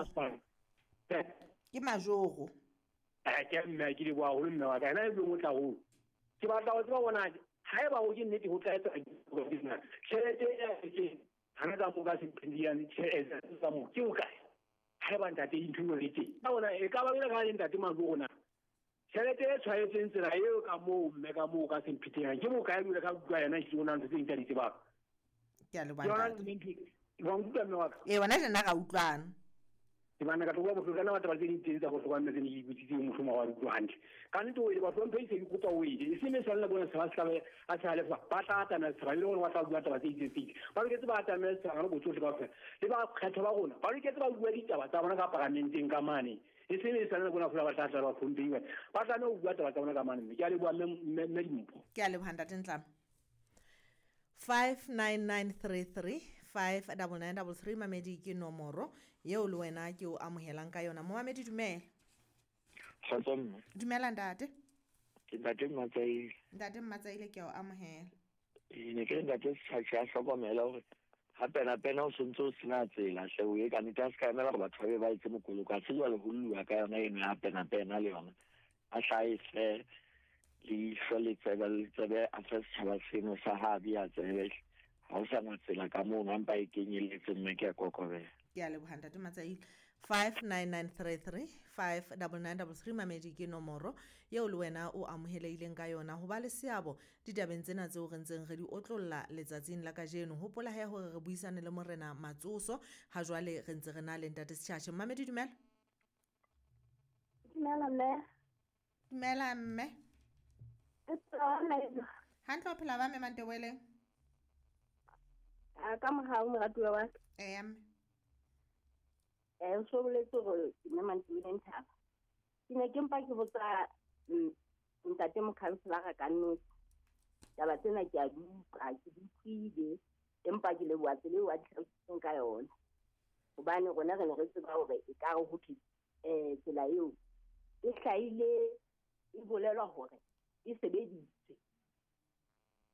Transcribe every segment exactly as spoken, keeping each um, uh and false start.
Masepala. Ke majoro. Eh ke mme ke leboha haholo mme wa ka. Ena e blong o tla holo. Ke batla ho tseba bona haeba ho ke nnete ho tla etsa business. Tjhelete e ke hana ka mo ka Semphetenyane tjhelete tsa mo ke bokae? Haeba ntate dintho di le teng. Ka bona e ka ba le ka ntate Majoro na. Tjhelete e tshwaetseng tsela eo ka moo mme ka moo ka Semphetenyane ke bokae jwale ka utlwa yena ke bona ntho tse ding tsa di tsebang. Ke a leboha Ke yona ntate. ntho wa nkutlwa mme wa ka? Ee, wena tjena ra utlwana. Ke bana ka tloha bohloko kana batho ba tse ding teng tsa bohlokwa mme tse ne ke ikutlwisitse mohlomong wa utlwa hantle. Ka nnete o ile ba hlomphe se ke kopa o ile. E se me sala bona se ba se a se halefa. Ba tla atamela setjhaba e le hore ba tla bua taba tse itseng tse itseng. Ba loketse ba atamela setjhaba ka botsohle kaofela. Le ba kgetho ba rona ba loketse ba bua ditaba tsa bona ka paramenteng ka mane. E se me sala bona feela ba tla tla ba hlomphe. Ba tlameha ho bua taba tsa bona ka mane mme. Ke a leboha mme mme mme Dimpho. Ke a leboha ntate Ntlama. five nine nine three three five double nine double three mamedi ke nomoro eo le wena ke o amohelang ka yona. Momamedi dumela. Kgotso mme. Dumela ntate. Ke ntate Mmatsaile. Ntate Mmatsaile ke a o amohela. Ee, ne ke re ntate Setjhatjhe a hlokomela hore ha pena pena o sontse o sena tsela hle o ye ka nnete a se ka emela hore batho ba be ba etse mokoloko. Ha se jwale ho lluwa ka yona eno ya pena pena le yona. A hlahe hle leihlo le tsebe le tsebe a fe setjhaba seno sa ha bi a tsebe. Ha o sa na tsela ka mono, a mpa e kenyelletse mme ke a kokobela. Ke a leboha ntate Matsaile. five nine nine three three five double nine double three mamedi ke nomoro eo le wena o amohelehileng ka yona ho ba le seabo ditabeng tsena tseo re ntseng re di otlolla letsatsing la kajeno. Hopola he hore re buisane le Morena Matsoso ha jwale re ntse re na le ntate Setjhatjhe. Mamedi dumela. Dumela mme. Dumela mme. Hantle o phela ba mme Mantebeleng? A ka mohau moratuwa wa ka. Ee, mme. Eh, o so boletse hore ke mme Mantebeleng Thaba. Ke ne ke mpa ke botsa, mm, ntate mokhanselara ka nnete. Taba tsena ke a di utlwa, ke di utlwile, empa ke leboha tsela eo a di hlalositseng ka yona. Hobane rona re ne re tseba hore ekare ho thwe, eh, tsela eo e hlahile e bolelwa hore e sebeditswe,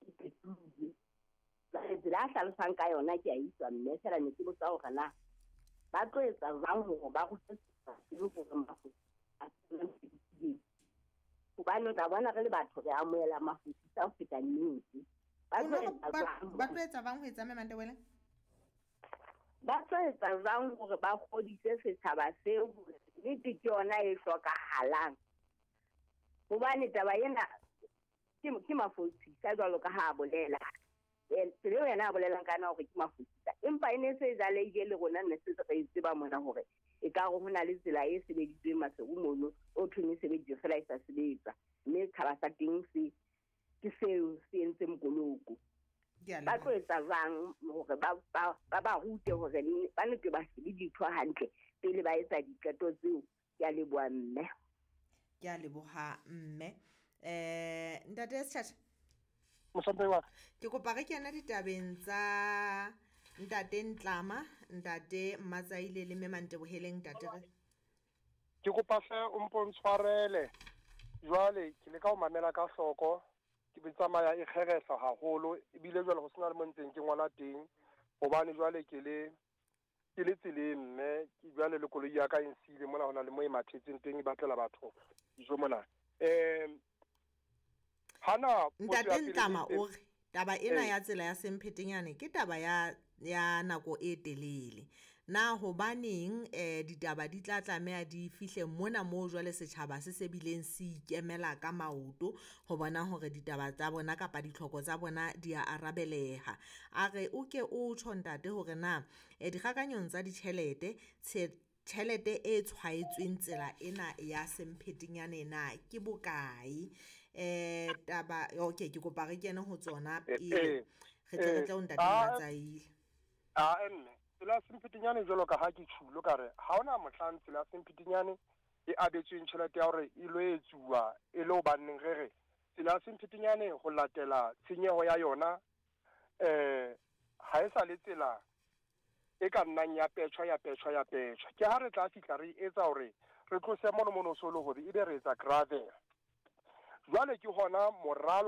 e qetuwe. Jwale tsela a hlalosang ka yona ke a utlwa mme feela ne ke botsa hore na ba tlo etsa jwang hore ba rute setjhaba seo hore mafu a se hobane o tla bona re le batho re amohela mafosisa ho feta nnete. Ba tlo etsa Ba jwang ba tlo etsa jwang ho etsa mme Mantebeleng? Ba tlo etsa jwang hore ba kgodise setjhaba seo hore nnete ke yona e hlokahalang? Hobane taba ena ke, ke mafosisa jwalo ka ha a bolela. Eh, tsela eo yena a bolelang ka yona hore ke mafosisa. Empa e ne se e jalehile le rona ne se re e tseba mona hore ekare ho na le tsela e sebeditsweng Maseru mono, o thweng e sebeditswe feela e sa sebetsa. Mme setjhaba sa teng se, ke seo se entse mokoloko. Ke a Ba leboha. tlo etsa jwang hore ba, ba, ba ba rute hore ne, ba nete ba shebe dintho hantle pele ba etsa diqeto tseo? Ke a leboha mme. Ke a leboha mme. Eh, ntate Setjhatjhe. Mohlomphehi wa ka. Ke kopa re kene ditabeng tsa ntate Ntlama, ntate Mmatsaile le mme Manteboheleng ntate re. Ke kopa hle o mpo ntshwarele. Jwale ke leka ho mamela ka hloko, ke be tsamaya e kgerehla haholo ebile jwale ho sena le mo ntseng ke ngola teng hobane jwale ke le ke le tseleng mme ke jwale le koloi ya ka e nsiile mona hona le mo e mathetseng teng e batlela batho dijo mona. Eh, hana potso ya Ntate pele Ntlama e o re taba ena Eh. ya tsela ya Semphetenyane ke taba ya, ya nako e telele. Na hobaneng, eh, ditaba di tla tlameha di fihle mona moo jwale setjhaba se se bileng se ikemela ka maoto ho bona hore ditaba tsa bona kapa ditlhoko tsa bona di a arabeleha. A re o ke o tjho ntate hore na, eh, dikgakanyong tsa ditjhelete, tshe-, tjhelete e tshwaetsweng tsela ena ya Semphetenyane na ke bokae? Eh, taba, okay, ke kopa re kene ho tsona Eh, pele. eh, Re tle re eh, tle ho ntate ah, Mmatsaile. Ah, mme, tsela ya Semphetenyane jwalo ka ha ke tjhulo ka re, ha hona mohlang tsela ya Semphetenyane e abetsweng tjhelete ya hore e lo etsuwa e le hobaneng re re tsela ya Semphetenyane ho latela tshenyeho ya yona, eh, ha e sa le tsela e ka nnang ya petjhwa, ya petjhwa, ya petjhwa. Ke ha re tla fihla re etsa hore re tlose mono mono solo hore ebe re etsa gravel. Jwale ke hona moralo